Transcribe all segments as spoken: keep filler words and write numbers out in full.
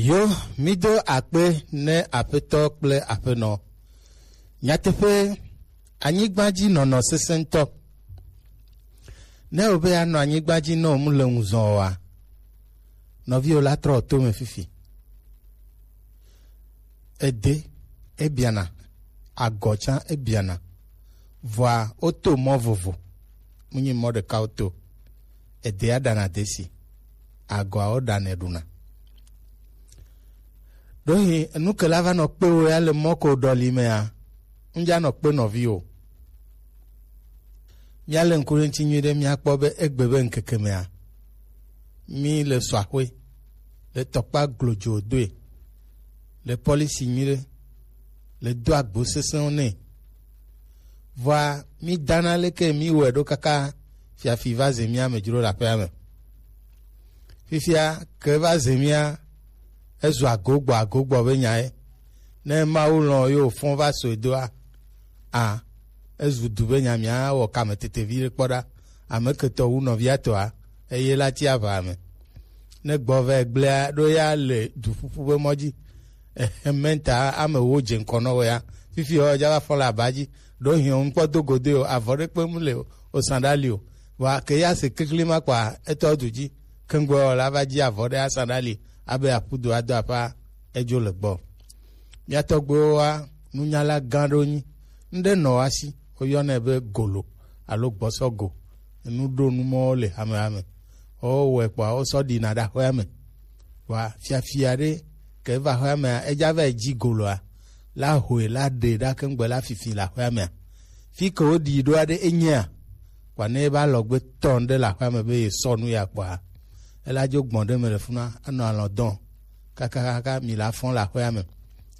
Yo, mido akpe ne Aƒetɔ kple Aƒenɔ. Nyateƒe, anyigbadzinɔnɔ sesẽtɔ. Ne wòbe yeanɔ anyigba dzi ne wòmu le ŋu zɔ oa, nɔviwo la trɔ to me fifi. Ede, ebiana, agɔ tsã ebiana. Vɔa, woto mɔ vovo. Munyi mɔ ɖeka woto. Edea ɖana desi. Agɔa woɖanɛ ɖuna. Ɖohi enu ke la va nɔ kpe wo ya le mɔ ko ɖɔli mea, ŋdza nɔ kpe nɔvi o. Míale ŋku ɖe ŋuti nyuiɖe míakpɔ be egbe be ŋkeke mea, mí le sɔaxwe, le tɔkpa glodzo doe, le pɔlisi nyuiɖe, le do agbo sesẽwo nɛ. Vɔa mí dana leke mí wɔe ɖo kaka fiafi va ze mía me dzro le aƒea me. Fifia ke va ze mía ezu agogbɔ agogbɔ be nya ye. Ne Mawu lɔ̃ ye wòfɔ va so edoa, a ezu du be nya mía wɔ kame tete vi ɖe kpɔ ɖa. Ame ketɔ wu nɔvia tɔa, eye la ti aʋa me. Ne gbɔ va gblea ɖo ya le du ƒuƒu be mɔ dzi. Ehe mɛnta ame wo dze ŋkɔ nɔ wɔ ya. Fifi ɔ dza va fɔ le aba dzi. Ɖo hiɔ ŋkpɔ do gode o, avɔ ɖe kpe mu le o, o sandali o. Vɔa ke ya se kekle ma kpa etɔ du dzi. Kengbe ɔ la va dzi avɔ ɖe asan ɖali abe aƒudo ado aƒa edzo le gbɔ. Mía tɔgbuiwo wa nunyala gã ɖewo nyi. Ŋɖe nɔ wa si woyɔnɛ be golo alo gbɔsɔgo. Enu ɖo nu mɔwo le hamehame. Wowɔe kpɔa wosɔ ɖina ɖe aƒea me. Vɔa fiafia ɖe ke va aƒea mea, edza va yi dzi goloa, la hoe la ɖe ɖa kengbe la fifi le aƒea mea. Fi ke woɖi ɖoa ɖe enyea, kpɔa ne eva alɔgbe tɔ ŋɖe le aƒea me be yesɔ nu ya kpɔa, ela dzo gbɔn ɖe me le funa anɔ alɔ dɔn kakakaka mi la fɔn le aƒea me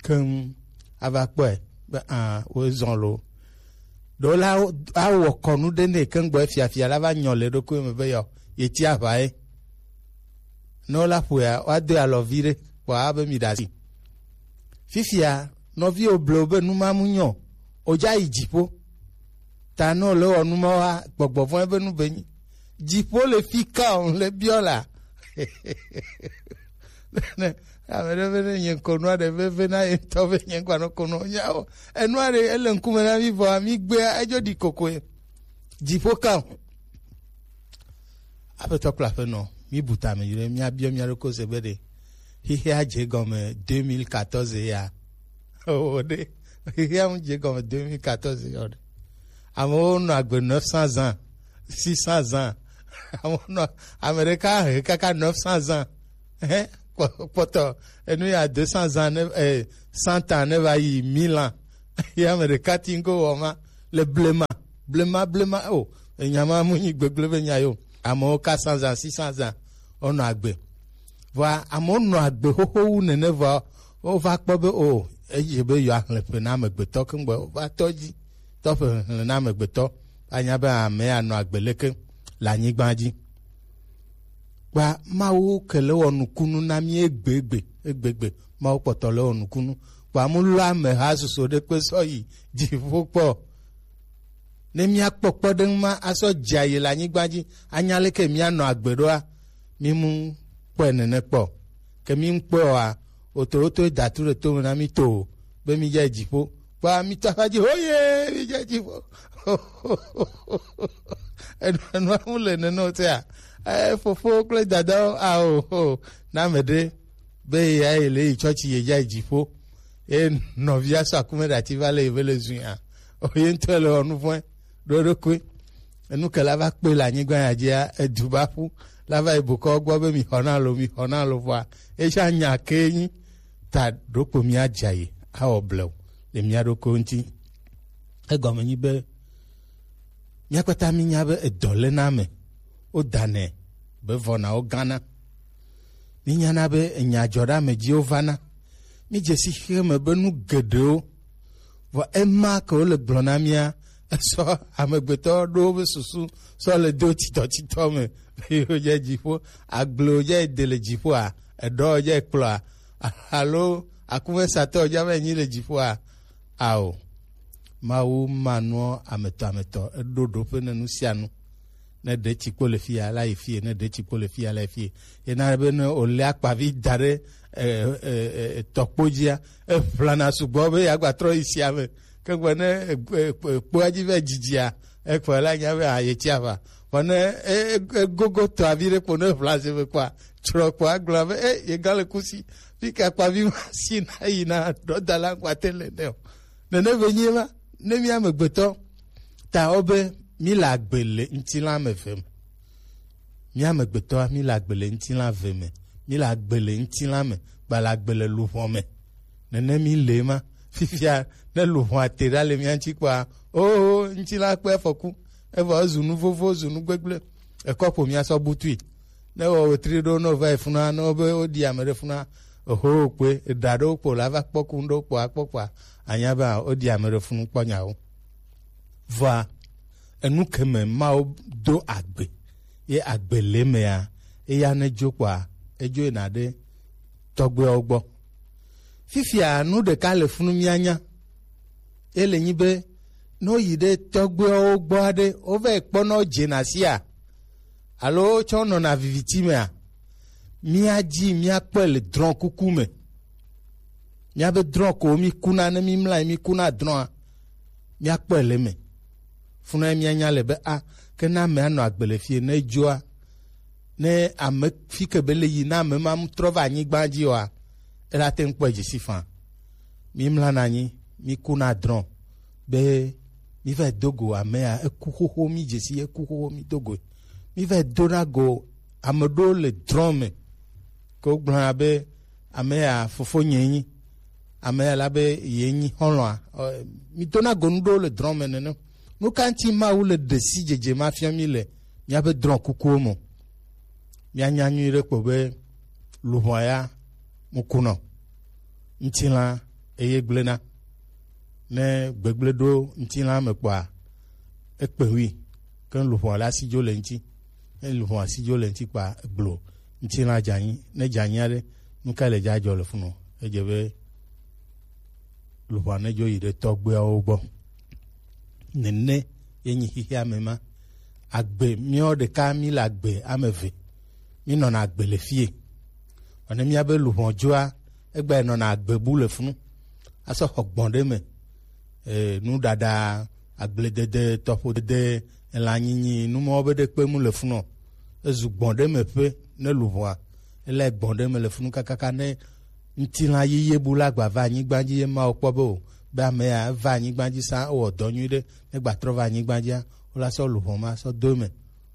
keŋ ava kpɔe be a wo zɔn lo. Ɖo la awɔ kɔnu ɖe nɛ keŋ gbɔ fiafia la va nyɔ le ɖokui me be yɔ yeti aʋa ye. Ne wola ƒoea woado alɔ vi ɖe kpɔa be mi ɖe asi. Fifia nɔviwo blewo be nu ma mu nyɔ o dza yi dziƒo. Ta ne wòle wɔ nu ma wa gbɔgbɔ vɔ̃ ebe nu be nyi. Dziƒo le fi ka o le biɔ la. Ne ame ɖe be ne nye ŋkɔ nua ɖe veve na ye ŋutɔ be nye ŋkɔ anɔ ko nɔ nyawo. Enua ɖe ele ŋkume na mi vɔa mi gbea edzo ɖi kokoe. Dziƒo ka o. Aƒetɔ kple aƒenɔ, mi bu tame yi ɖe mia biɔ mia ɖokui se be ɖe xexea dze gɔme deux mille quatorze ya. O ɖe xexea mu dze gɔme deux mille quatorze ya o ɖe. Amewo nɔ agbe neuf cents ans, six cents ans. Amewo nɔ ame ɖeka he kaka neuf cents ans. Hɛ kpɔtɔ enu ya deux cents ans ne eh, cent ans ne va yi mille ans. Ye ame ɖeka ti ŋgo wɔ ma le blema blema blema o enya ma mu nyi gbegblẽ be nya yo. Amewo ka cent ans, six cents ans wonɔ agbe. Vɔa amewo nɔ agbe xoxo wu nene vɔa wova kpɔ be o edze be yewoaxlẽ ƒe na amegbetɔ keŋgbɔ wova tɔ dzi tɔ ƒe xexlẽ na amegbetɔ anya be ame anɔ agbe leke le anyigba dzi. Kpa Mawu ke le wɔ nukunu na mí egbegbe egbegbe. Mawu kpɔtɔ le wɔ nukunu. Kpa mu lɔ ameha susu ɖe kpe sɔ yi dziƒo kpɔ. Ne míakpɔ kpɔɖeŋu ma asɔ dze ayi le anyigba dzi anya leke míanɔ agbe ɖoa, mímu kpɔe nene kpɔ. Ke mímu kpɔe oa, wotowotoe da tu ɖe tome na mí to be mídze dziƒo. Kpa mítɔ aƒe dzi hoye mídze dziƒo. Enua mu le nene o tea. Eh, fofo kple dadawo ao o na me ɖe be ya yi le yi tsɔtsi ye dza yi dziƒo. Ye nɔvia sɔ akume ɖe ati va le yi be le zui a. O ye ŋutɔ le wɔ nu vɔ̃e ɖo eɖokui. Enu ke la va kpe le anyigba ya dzia edu va ƒu la va yi bokɔ gbɔ be mi xɔ na lo mi xɔ na lo vɔa. Etsã nya ke nyi ta ɖokpo mía dza yi awɔ blewu le mía ɖokuiwo ŋuti. Egɔme nyi be mía kpata mínya be edɔ le na ame wodanɛ be vɔnawo gãna. Mínyana be enya dzɔ ɖe ame dziwo vana. Mídze si xexeme be nu geɖewo vɔ ema ke wole gblɔ na mía esɔ amegbetɔ ɖo wobe susu sɔ le do titɔtitɔ me. Yewo dze dziƒo agblewo dze de le dziƒoa eɖɔ dze kplɔa alo akumesatɔ dze ame nyi le dziƒoa ao. Mawu ma nua ametɔ ametɔ eɖo ɖoƒe ne nu sia nu. Ne ɖe tsi kpo le fia, la yi fie. Ne ɖe tsi kpo le fia, la yi fie. Yena be ne wòlé akpavi da ɖe, e, e, e, tɔkpo dzia, eʋlana sugbɔ be yeagba trɔ yi sia me. Ke gbe ne, e, e, e, kpoa dzi vɛ dzidzia, ekpɔe la nya be, a, yetsi aʋa. Vɔ ne, e, e, egogo tɔ avi ɖe kpo ne ʋla zi me kpɔa, tsrɔ kpɔ agblɔ be, e, yega le kusi. Fi ka akpavi ma si na yi na ɖɔdala ŋkpa te le ne o. Nene be nyi ma, ne mí amegbetɔ ta wo be mí le agbe le ŋutilã me ve me. Mí amegbetɔa, mí le agbe le ŋutilã ve me. Mí le agbe le ŋutilã me, gba le agbe le luʋɔ me. Nene mí le ma. Fifia, ne luʋɔa te ɖa le mía ŋuti kpɔa, oo, ŋutilã kpɔ afɔku. Evɔ ezu nu vovo, ezu nu gbegblẽ. Ekɔ ƒo mía sɔ butui. Ne wɔ wetri ɖo, ne wova yi funua, ne wobe woɖi ame ɖe funua, oho, kpoe, eɖa ɖewo kpo la va kpɔ ku ŋɖewo kpo akpɔ kpoa, anya be woɖi ame ɖe funu kpɔ nyawo. Vɔa, enu ke me Mawu do agbe, ye agbe le mea, eya ne dzo kpoa, edzo yina ɖe tɔgbuiawo gbɔ. Fifia nu ɖeka le funu míanya. Ele nyi be, ne woyi ɖe tɔgbuiawo gbɔ aɖe, wova yi kpɔna wodzena sia, alo wotsɔ nɔna viviti mea, míadi míakpɔe le drɔ̃ kuku me. Míabe drɔ̃ ko míkuna, ne mímlɔ anyi míkuna drɔ̃a, míakpɔe le eme. Funa míanya le be, a, ke ne ame anɔ agbe le fie, ne edzoa, ne ame fi ke be le yi, ne ame ma trɔ va anyigba dzi oa, ela te ŋu kpɔe dzi si faa. Mímlɔna anyi, míkuna drɔ̃ be míva do go amea, eku xoxo, mídze si eku xoxo, mído goe. Míva dona go ame ɖewo le drɔ̃ me, ke wogblɔna be, ame ya fofonye nyi, ame ya la be ye nyi xɔlɔ̃a. Ɔ, mi dona go nu ɖewo le drɔ̃ me nene. Nu ka ŋuti Mawu le ɖe si dzedze ma fiɔ mi le míabe drɔ̃ kukuwo me? Míanya nyuie ɖe kpo be luʋɔa ya mu kunɔ, ŋutilã eye gblẽna. Ne gbegblẽ ɖo ŋutilã me kpɔa, ekpe ŋui, ke luʋɔ la si dzo le ŋuti. Ne luʋɔ si dzo le ŋuti kpɔa, egblo ŋutilã dze anyi. Ne dze anyi aɖe, nu ka le dza dzɔ le funu? Edze be luʋɔ ne dzo yi ɖe tɔgbuiawo gbɔ. Nene ye nyi xexea me ma. Agbe, míawo ɖeka mí le agbe ame eve. Mí nɔna agbe le fie. Vɔ ne míabe luʋɔ dzoa, egba yi nɔna agbe bu le funu. Asɔ xɔ gbɔn ɖe me. E, nuɖaɖa, agbledede, tɔƒodede, elãnyinyi, nu mawo be ɖekpe mu le funu o. Ezu gbɔn ɖe me ƒe ne luʋɔa. Ele gbɔn ɖe me le funu kakaka ne ŋutilã yeye bu la gba va anyigba dzi ye Mawu kpɔ be o, be ame ya eva anyigba dzi sã, ewɔ dɔ nyui ɖe, ne gba trɔ va anyigba dzia, wola sɔ luʋɔ ma sɔ do eme.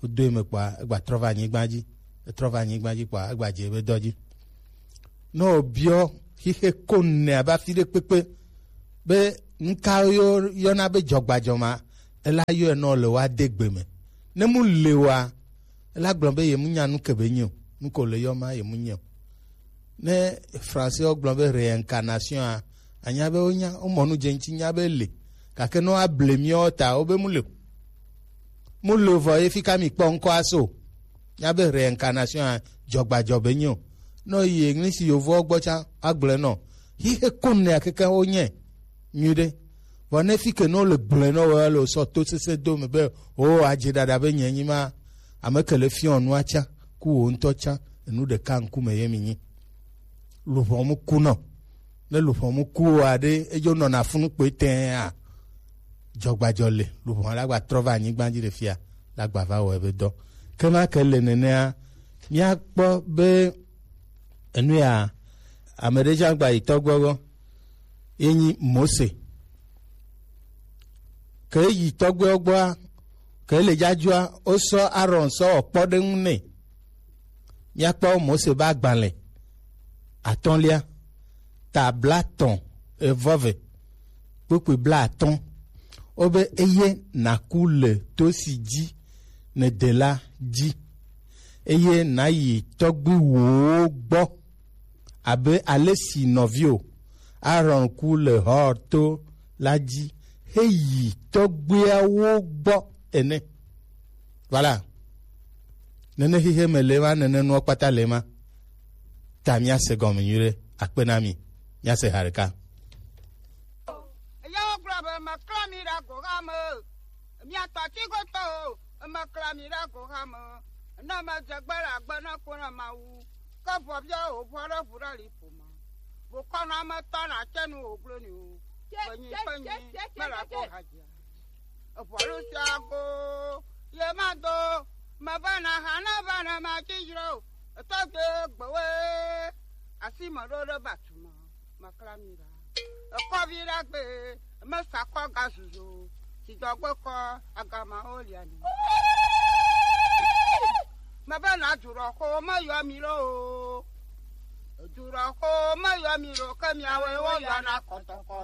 Wodo eme kpɔa, egba trɔ va anyigba dzi. Etrɔ va anyigba dzi kpɔa, egba dze ebe dɔ dzi. Ne wòbiɔ xixe ko nɛ abe afi ɖe kpekpe be nuka yɔ-, yɔna be dzɔgbadzɔ ma, ela yɔe nɔ le woade gbe me. Ne mu le wa, ela gblɔ be ye mu nya nu ke be nyi o, nu ko le yɔ ma ye mu nyi o. Ne Français wo gblɔ be réincarnation a, anya be wonya, womɔ nu dze ŋuti nya be le. Gake ne woable míawo ta, wobe mu le o. Mu le o vɔ ye fi ka mi kpɔ ŋkɔ aso. Nya be réincarnation a, dzɔgbadzɔ be nyi o. Ne yi English yovowo gbɔ tsã, agblɔe nɔ. Xixe ko nɛ akeke wo nye. Nyuiɖe. Vɔ ne fi ke ne wole gblɔe nɔ wɔ le sɔ to sese do me be, o, adze ɖaɖa be nye nyi ma, ame ke le fiɔ nua tsã, ku wo ŋutɔ tsã, enu ɖeka ŋkume ye mi nyi. Luʋɔ mu kunɔ. Ne luʋɔ mu ku o aɖe, edzo nɔna funu kpoe tɛa, dzɔgbadzɔ le, luʋɔ la gba trɔ va anyigba dzi le fia, la gba va wɔ ebe dɔ. Ke ma ke le nenea, míakpɔ be enu ya, ame ɖe tsã gba yi tɔgbuiawo gbɔ, ye nyi Mose. Ke yi tɔgbuiawo gbɔa, ke le dzadzɔa, wosɔ Aaron sɔ wɔ kpɔɖeŋu nɛ. Míakpɔ Mose be agbalẽ atɔ̃lia, ta blaetɔ̃ evɔ ve, kpukpui blaatɔ̃. Wobe eye nàku le to si dzi nède la dzi, eye nàyi tɔgbuiwòwo gbɔ, abe ale si nɔviwò Aaron ku le Hor to la dzi heyi tɔgbuiawo gbɔ ene. Voilà. Nene xixe me le ma, nene nuwo kpata le ma. Ta míase gɔme nyuiɖe. Akpe na mi. Míase ha ɖeka. Eyawo gblɔ be, meklã mi ɖe agoha me. Miatɔ tsi goto o. Ema kla mi ɖe agoha me. Ne me dze gbe le agbe ne ko na Mawu. Ke vɔ bia o vɔ ɖe ʋu ɖe li ƒo me. Bo kɔ na me tɔ na tse nu o gblɔ ni o. Kpenyi kpenyi me la ko ha dzia. Eʋɔ ɖo sia go ye ma do. Me va na ha na va na ma tsi dzro. Etɔ gbe gbewe. Asi me ɖo ɖe ba tu me. Me kla mi ɖa. Ekɔvi ɖagbe, mesa kɔ gazuzu, si dɔgbe kɔ agamawo lia ni. Mebe na duɖɔxo meyɔ mi lo o. Duɖɔxo meyɔ mi lo, ke miawoe woyɔna kɔtɔkɔ.